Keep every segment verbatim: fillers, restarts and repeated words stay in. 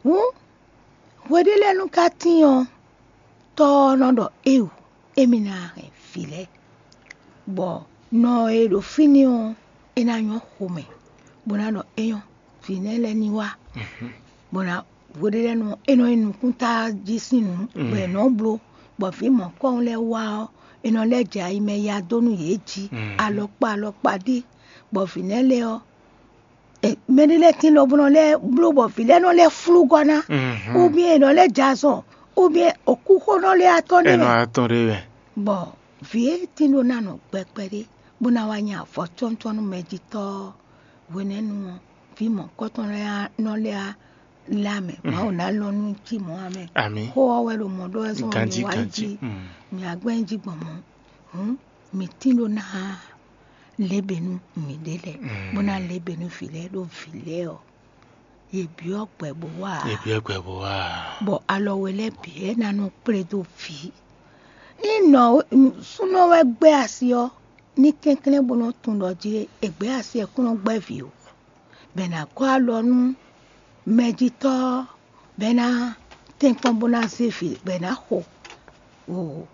Hǔn hweɖé lɛ́ɛ nú ka tíin ɔ́, tɔ́ ɔ́ nɔ ɖɔ éwu, émí ná hɛn vǐ lɛ́ɛ, bɔ nɔ e ɖo fínɛ́ ɔ́, é ná nyɔ́ xomɛ, bó ná ɖɔ é nyɔ́, vǐ nɛ́ lɛ́ɛ ní wá, bó ná hweɖé lɛ́ɛ nú é nɔ nyí nukúnta jí sín nǔ, bɔ è nɔ́ bló, bɔ vǐ mɔ̌kɔ́hún lɛ́ɛ wá ɔ́, è nɔ lɛ́ jɛ ayi mɛ ya dó nú yě jí, alɔkpa alɔkpa ɖé, bɔ vǐ nɛ́ lɛ́ɛ ɔ́, mɛɖé lɛ́ɛ tín lɔ bó nɔ lɛ́ bló bɔ vǐ lɛ́ɛ nɔ lɛ́ flú gɔ́ ná, ubiɛn è nɔ lɛ́ jɛ azɔn, ubiɛn òkúxónɔ lɛ́ɛ atɔ́ nɛ́ mɛ. Atɔ́ ɖé mɛ. Bɔ vǐ e tín ɖó ná nɔ gbɛkpɛ ɖé, bó ná wá nyi avɔ cɔ́ncɔ́n nú mɛjitɔ́ ɔ́, hwenɛ́nu ɔ́, vǐ mɔ̌kɔ́tɔn lɛ́ɛ nɔ lɛ́ lá mɛ, Mawu ná lɔn nú cí mɔ̌ ǎ mɛ. Amǐ. Xó ɔ́ wɛ ɖo mɔ̌ ɖó wɛ zɔ́n ganjí mì wá ganjí. Jí. Mi agbɛ́njí gbɔn mɔ̌. Hǔn mǐ tín ɖó ná lě bǐ nú mǐɖée lɛ́ɛ, bó ná lě bǐ nú vǐ lɛ́ɛ ɖó vǐ lɛ́ɛ ɔ́, yě byɔ́ gbɛ bó wá ǎ. Yě byɔ́ gbɛ bó wá ǎ. Bɔ alɔ we lɛ́ɛ bǐ é ná nɔ kplé dó vǐ. Ní nɔ súnɔ wɛ gbɛ́ asi ɔ́, ní kɛnklɛ́n bó nɔ́ tunwun ɖɔ jí è gbɛ́ asi ɔ́ kún nɔ gbɛ́ vǐ ó, bɔ è nǎ gɔ́ alɔ nú mɛjitɔ́ ɔ́, bɔ é ná tɛ́nkpɔ́n bó ná zé vǐ, bɔ è nǎ xo. O,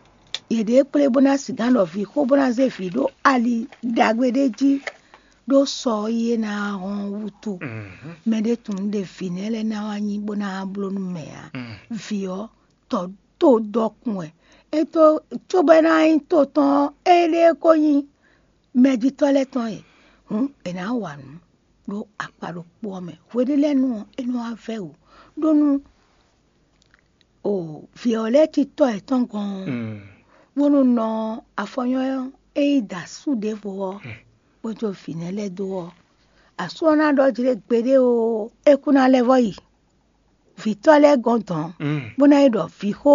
yě ɖe kplé bó ná sigǎn ɖɔ vǐ xó bó ná zé vǐ ɖó ali ɖagbe ɖé jí, ɖó sɔ ɔ́ yi é ná hɔn wútu. Mɛ ɖé tunwun ɖe vǐ nɛ́ lɛ́ɛ ná wá nyí bó ná bló nú mɛ ǎ. Vǐ ɔ́, tɔ to dɔkun wɛ. É tó cóbɔ é ná nyí to tɔn ɔ́, éɖée ko nyí mɛjitɔ́ lɛ́ɛ tɔn e. Hǔn è nǎ wa nǔ ɖó akpa ɖokpó ɔ́ mɛ. Hweɖé lɛ́ɛ nu ɔ́, é nɔ wá vɛ́ wǔ, ɖó nú o vǐ ɔ́ lɛ́ɛ cí tɔ́ yětɔn gɔ́n ɔ́, bónú nɔ afɔnyɔ́ e yi da asú ɖěvo ɔ́, bó jó vǐ nɛ́ lɛ́ɛ dó ɔ́, asú ɔ́ ná ɖɔ jí ɖé gbeɖé oo, é kú ná lɛ́ vɔ́ yi. Vǐtɔ́ lɛ́ɛ gɔ́n dɔ̌n, bó ná yi ɖɔ vǐxó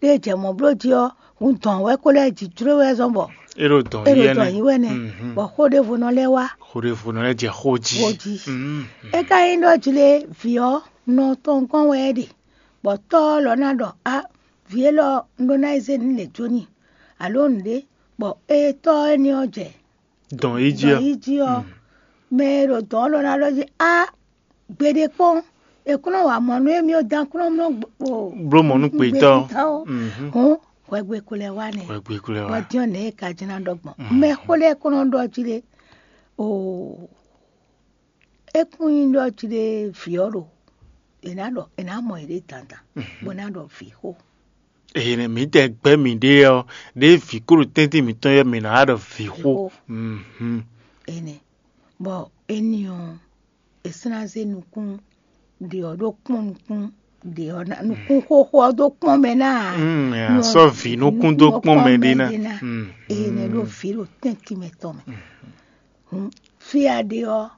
ɖé jɛ mɔ̌ bló jí ɔ́, hun dɔ̌n wɛ kó lɛ́ jǐ jló wɛ zɔ́n bɔ é ɖo dɔn é ɖo yí dɔn ɛnɛ. Yí wɛ nɛ́, bɔ xó ɖěvo nɔ lɛ́ wá. Xó ɖěvo nɔ lɛ́ jɛ xó jí. Xó jí. É ka nyí ɖɔ jlé vǐ ɔ́ nɔ tɔn gɔ́n wɛ é ɖe, bɔ tɔ́ ɔ́ lɔ ná ɖɔ á, vǐ élɔ́ un ɖó ná yi zé nǔ lě jó n'i, alo nǔɖé, bɔ é tɔ́ énɛ́ ɔ́ jɛ Dɔn yi jí dɔn ɔ́. Yi jí ɔ́, mɛ e ɖo dɔn ɔ́ ɖɔ ná ɖɔ jí á, gbeɖé kpɔ́n, è kún nɔ wa mɔ̌ nú émí ɔ́ dán kún nɔ mlɔ́ gbo- o- Bló mɔ̌ nú gbetɔ́. Gbetɔ́. Mhm. Hǔn hwɛgbe ko lɛ́ wá nɛ́. Hwɛgbe ko lɛ́ wá. Bɔ dín ɔ́ nɛ̌ e ka jló ná ɖɔ gbɔn. Mɛ xó lɛ́ɛ kún nɔ ɖɔ jí ɖé. Oo, é kún nyí ɖɔ jí ɖé vǐ ɔ́ ɖo è nǎ ɖɔ è nǎ mɔ yěɖée dandan, bó ná ɖɔ vǐ xó. Èyí mǐ tɛ gbɛ́ mǐɖée ɔ́, ɖěe vǐ kó ɖo tɛ́ntin mǐtɔn ɔ́, mǐ ná wá ɖɔ vǐ xó. Xó. Mhm. Énɛ́. Bɔ éní ɔ́, è sɔ́ ná zé nukún ɖě ɔ́ ɖó kpɔ́n nukún ɖě ɔ́ ná, nukún xóxó ɔ́ dó kpɔ́n mɛ ná ǎ. Mm, a sɔ́ vǐ nukún dó kpɔ́n mɛ ɖé ná. Mm, Énɛ́ ɖó vǐ ɖo tɛ́ntin mɛ tɔn mɛ. Hǔn fí e a ɖe ɔ́,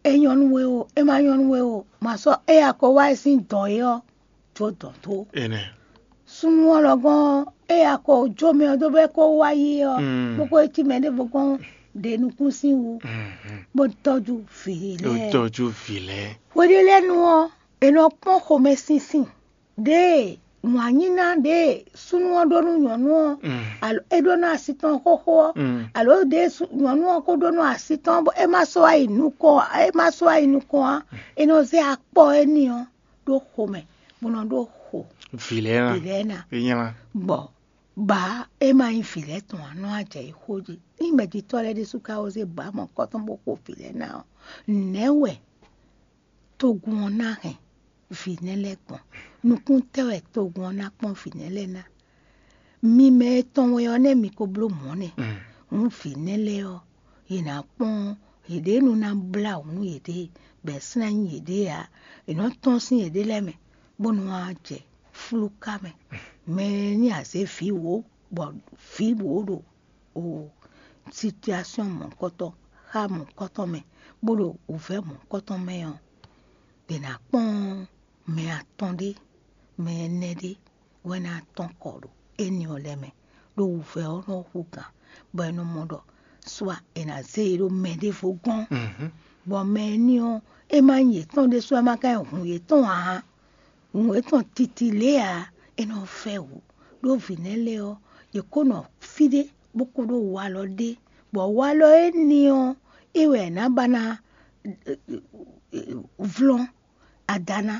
é nyɔ́ nú we o, é ma nyɔ́ nú we o, ma sɔ́ é a ko wá é sín dɔ̌n é ɔ́, jó dɔ̌n dó. Énɛ́. Súnnu ɔ́ lɔgɔ́n é a ko jó mɛ ɔ́ dó bɔ é ko wá yi ɔ́, bó ko cí mɛ ɖěvo gɔ́n ɖe nukún sín wú, bó tɔ́jú vǐ lɛ́ɛ. Tɔ́jú vǐ lɛ́ɛ. Hweɖé lɛ́ɛ nu ɔ́, è nɔ kpɔ́n xomɛsinsin ɖěe wǎnyíná ɖěe súnnu ɔ́ ɖó nú nyɔ̌nu ɔ́, alo é ɖó nú asi tɔn xóxó ɔ́, alo ɖěe nyɔ̌nu ɔ́ ko ɖó nú asi tɔn ɔ́, bɔ é ma sɔ́ wá yi nukɔn ǎ, é ma sɔ́ wá yi nukɔn ǎ, è nɔ zé akpɔ éní ɔ́ ɖó xomɛ, bó nɔ ɖó xo vǐ lɛ́ɛ ná. Vǐ lɛ́ɛ ná. É nyí lá. Bɔ bǎ é ma nyí vǐ lɛ́ɛ tɔn ǎ, nɔ ajɛ yi xó jí. Ní mɛjitɔ́ lɛ́ɛ ɖésú ka wó zé bǎ mɔ̌kɔ́tɔn bó xo vǐ lɛ́ɛ ná ɔ́, nɛ̌ wɛ togun ɔ́ ná hɛn vǐ nɛ́ lɛ́ɛ gbɔn? Nukún tɛ́ wɛ togun ɔ́ ná kpɔ́n vǐ nɛ́ lɛ́ɛ ná? Mi mɛ e tɔn wɛ ɔ́, nɛ́ mi ko bló mɔ̌ nɛ́. Hǔn vǐ nɛ́ lɛ́ɛ ɔ́, yě ná kpɔ́n yěɖée nú ná blá wǔ nú yěɖée, bɔ è sɔ́ ná nyí yěɖée ǎ. È nɔ́ tɔ́n sín yěɖée lɛ́ɛ mɛ, bó nɔ wá jɛ flúká mɛ. Mɛ e ní a zě vǐ wǒ, bɔ vǐ wǒ ɖo o situation mɔ̌hunkɔtɔn, xá mɔ̌hunkɔtɔn mɛ, bó ɖo wǔvɛ́ mɔ̌hunkɔtɔn mɛ ɔ́, è nǎ kpɔ́n mɛ atɔn ɖé, mɛ ɛnɛ ɖé wɛ ná tɔ́n kɔ ɖo éní ɔ́ lɛ́ɛ mɛ, ɖó wǔvɛ́ ɔ́ nɔ hú gǎn, bɔ è nɔ mɔ ɖɔ sua è nǎ zé yě ɖó mɛ ɖěvo gɔ́n, bɔ mɛ éní ɔ́, é ma nyí yětɔn ɖésú, é ma ka nyí hun yětɔn ǎ. Nǔ e tɔn titi lě ǎ, é nɔ vɛ́ wǔ, ɖó vǐ nɛ́ lɛ́ɛ ɔ́, yě ko nɔ fí ɖé, bó ko ɖó walɔ ɖé, bɔ walɔ éní ɔ́, é wɛ è nǎ ba ná vlɔ́n ada ná,